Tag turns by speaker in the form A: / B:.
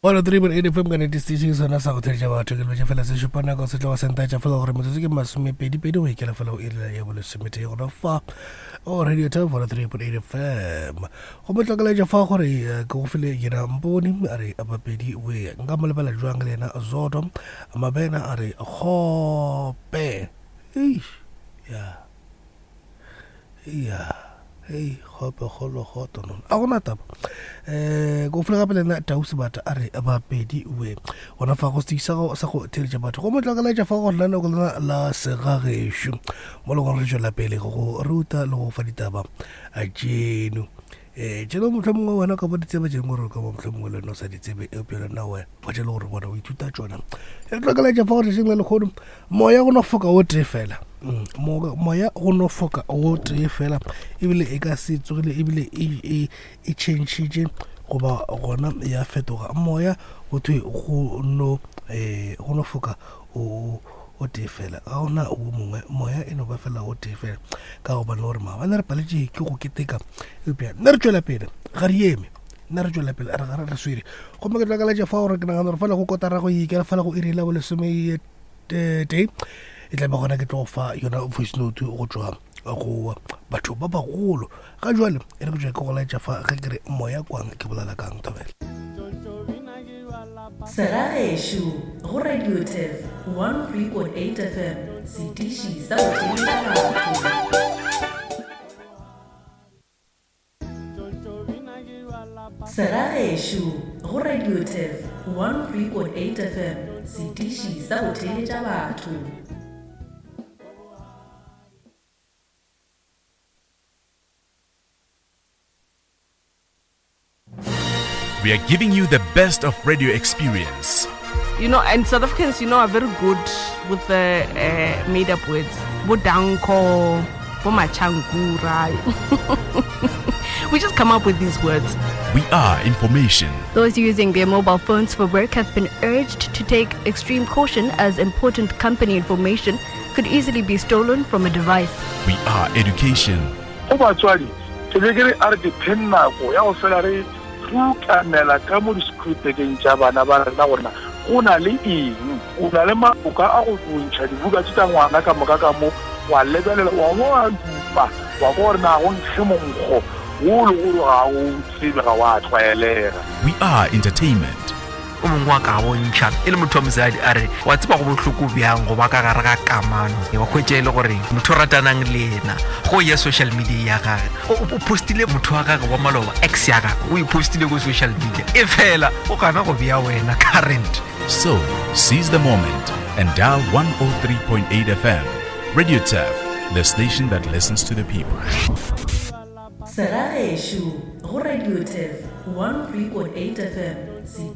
A: 103.8 FM ka nete station sona sa go theletša batho ke lebetše fela se šupa nako se tloga sentaetša fela gore metsotso ke masomepedipedi go ikela fela go iri ya bolesometee gona fa o radio top 103.8 FM go mo tlokeletša fa gore eh, ke go file yena mpone a re bapedi we nka mo lebela jwang le yena zoto mabena a re kgope eish ya ya hei kgope kgolo kgoto no a gona taba um ko fole gape le nna tau sebata a re bapedi we gona fa go setiki sa go theletša batho go motlakalaetša fa go lenaneo lena la segagešo mo le gore re tšwela pele go ruta le go fa ditaba tšeno um tšeno motlho mongwe wena ka bo ditsebe tše dingwe gore ka bo motlho mongwe le wena o sa di tsebe eupša le nna we gwa tše le gore bona o ithuta tšona e tlakalaetša fa go tšatšing la lekgono moya go no foka o tee fela mm, moya go no foka o tee fela ebile e ka se tsogile ebile e, e, e changile goba gona ya fetoga moya go thwe go no um go no foka o o tee fela ga gona o mongwe moya e no ba fela o tee fela ka gobane gore maabane re paletše ke go keteka eupša nna re tšwela pele ga re eme nna re tšwela pele re gare re swere gomme ke tlakaletša fa gore ke nagana gore fela go kotara go ikela fela go iri la bolesome tee e tla be gona ke tlo fa yona voice note go tšwa go batho ba bagolo ga jwale e re ke tšwa ke go laetša fa ge ke re moya kwang ke bolela kang thobela
B: Segagešo go Radio Turf 103.8 FM, setiši sa go theetša batho. Segagešo go Radio Turf 103.8 FM, setiši sa go theetša batho.
C: We are giving you the best of radio experience.
D: You know, and South Africans, you know, are very good with the uh, made up words. Bodanko, Bomachankura. We just come up with these words.
C: We are information.
E: Those using their mobile phones for work have been urged to take extreme caution as important company information could easily be stolen from a device.
C: We are education.
F: Go batswadi, ke be ke re a re ke pheng nako ya go fela re rukanela ka mo disekhurupekeng tša bana ba rena gore na go na le eng. O na le maloka a go ntšha dibuka tše tša ngwana ka moka ka mo, wa lebelela, wa bo wa dupa, wa kwa gore na go nkge monkgo wo le gore ga o tsebe, ga wa tlwaelega.
C: We are entertainment.
G: O mongwe wa ka bontšha e le motho wa mosadi a re wa tseba go bohloko bjang go ba ka gare ga kamano wa hwetša e le gore motho o ratanang le yena go ya social media ya gage o postile motho wa gage wa maloba ex ya gage o e postile ko social media e fela o gana go bea wena current.
C: So, seize the moment and dial 103.8 FM. Radio Turf, the station that listens to the people.
B: Segagešo go Radio Turf 103.8 FM.